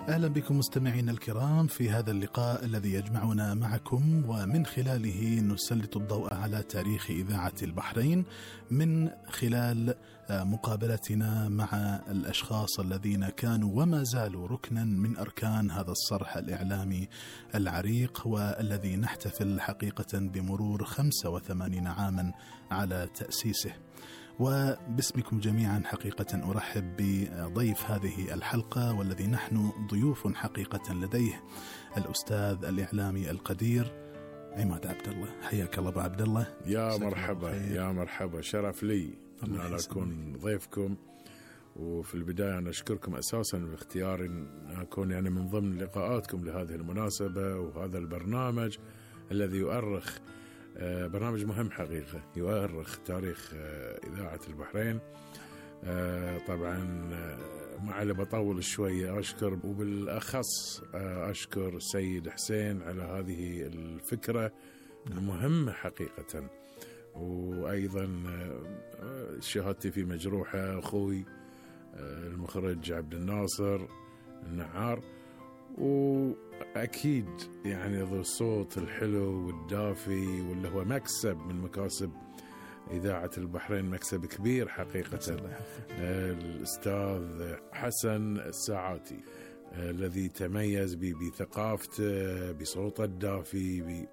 أهلا بكم مستمعين الكرام في هذا اللقاء الذي يجمعنا معكم ومن خلاله نسلط الضوء على تاريخ إذاعة البحرين من خلال مقابلتنا مع الأشخاص الذين كانوا وما زالوا ركنا من أركان هذا الصرح الإعلامي العريق والذي نحتفل حقيقة بمرور 85 عاما على تأسيسه. وباسمكم جميعا حقيقة أرحب بضيف هذه الحلقة والذي نحن ضيوف حقيقة لديه الأستاذ الإعلامي القدير عماد عبد الله. حياك الله أبو عبد الله. يا مرحبا يا مرحبا، شرف لي أن أنا أكون ضيفكم. وفي البداية أنا أشكركم أساسا باختيار أن أكون يعني من ضمن لقاءاتكم لهذه المناسبة وهذا البرنامج الذي يؤرخ برنامج مهم حقيقة، يؤرخ تاريخ إذاعة البحرين. طبعا ما علي بطول شوية، أشكر وبالأخص أشكر السيد حسين على هذه الفكرة المهمة حقيقة، وأيضا شهادتي في مجروحة أخوي المخرج عبد الناصر النعار، وأكيد يعني ذو الصوت الحلو والدافي واللي هو مكسب من مكاسب إذاعة البحرين، مكسب كبير حقيقة، الأستاذ حسن الساعاتي الذي تميز بثقافته بصوته الدافي،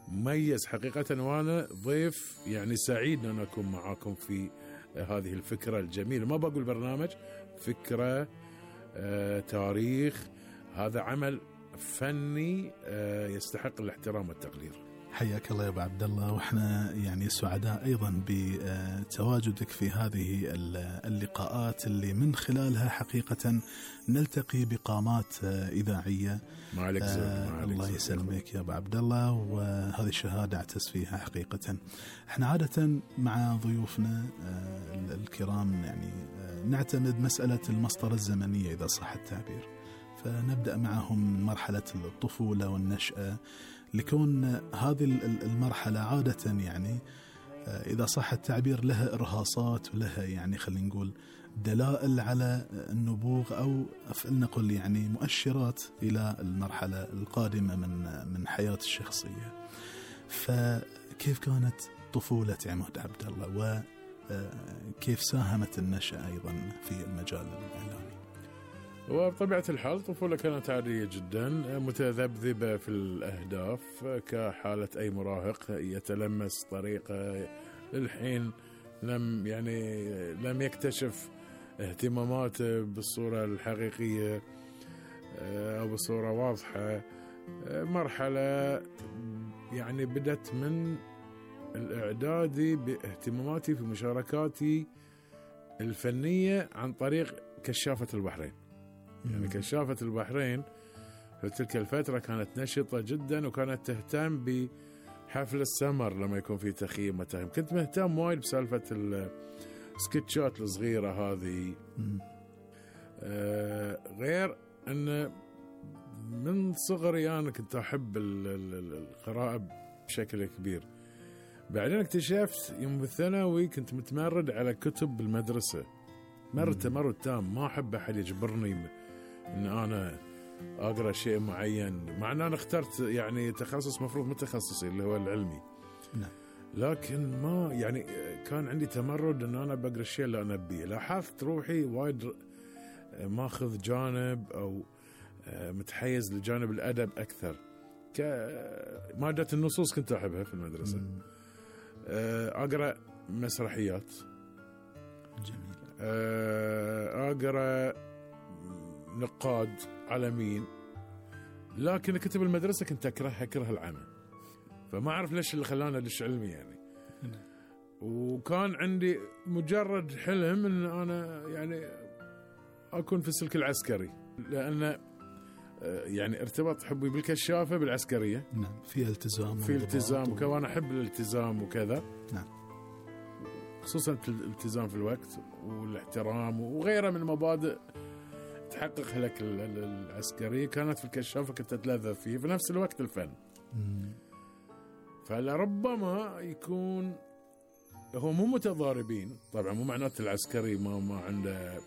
مميز حقيقة. وأنا ضيف يعني سعيد أن أكون معاكم في هذه الفكرة الجميلة، ما بقول برنامج، فكرة تاريخ، هذا عمل فني يستحق الاحترام والتقدير. حياك الله يا ابو عبد الله، واحنا يعني سعداء ايضا بتواجدك في هذه اللقاءات اللي من خلالها حقيقة نلتقي بقامات اذاعيه. ما عليك الله يسلمك يا ابو عبد الله، وهذه الشهاده اعتز فيها حقيقة. احنا عادة مع ضيوفنا الكرام يعني نعتمد مسألة المسطرة الزمنية إذا صح التعبير، فنبدأ معهم من مرحلة الطفولة والنشأة، لكون هذه المرحلة عادة يعني إذا صح التعبير لها إرهاصات ولها يعني خلينا نقول دلائل على النبوغ، أو نقول يعني مؤشرات إلى المرحلة القادمة من حياة الشخصية. فكيف كانت طفولة عماد عبد الله، وكيف ساهمت النشأة أيضا في المجال الإعلامي؟ وبطبيعة الحال طفولة كانت عادية جدا، متذبذبة في الأهداف كحالة أي مراهق يتلمس طريقة للحين لم يكتشف اهتماماته بالصورة الحقيقية أو بالصورة واضحة. مرحلة يعني بدت من الإعدادي باهتماماتي في مشاركاتي الفنية عن طريق كشافة البحرين. يعني كشافة البحرين في تلك الفترة كانت نشطة جدا، وكانت تهتم بحفل السمر لما يكون في تخييم وتخييم. كنت مهتم وايد بسالفة السكتشات الصغيرة هذه. غير أن من صغري أنا كنت أحب القراءة بشكل كبير. بعدين اكتشفت يوم بالثانوي كنت متمرد على كتب بالمدرسة، تمرد تام، ما أحب أحد يجبرني إن أنا أقرأ شيء معين، مع أن أنا اخترت يعني تخصص مفروض متخصصي اللي هو العلمي. نعم. لكن ما يعني كان عندي تمرد إن أنا بقرأ الشيء اللي أنا أبيه. لاحظت روحي وايد ماخذ جانب أو متحيز لجانب الأدب أكثر. كمادة النصوص كنت أحبها في المدرسة. أقرأ مسرحيات جميل، أقرأ نقاد عالمين، لكن كتب المدرسة كنت أكره العمى، فما أعرف ليش اللي خلاني أدش علمي يعني. وكان عندي مجرد حلم أن أنا يعني أكون في السلك العسكري، لأن يعني ارتبط حبي بالكشافة بالعسكرية. نعم، في التزام وكمان أحب الالتزام وكذا. نعم، خصوصا الالتزام في الوقت والاحترام وغيرها من مبادئ تحقق لك العسكرية. كانت في الكشافة كنت أتلذذ فيه، في نفس الوقت الفن. فلربما يكون هو مو متضاربين، طبعا مو معناته العسكري ما عنده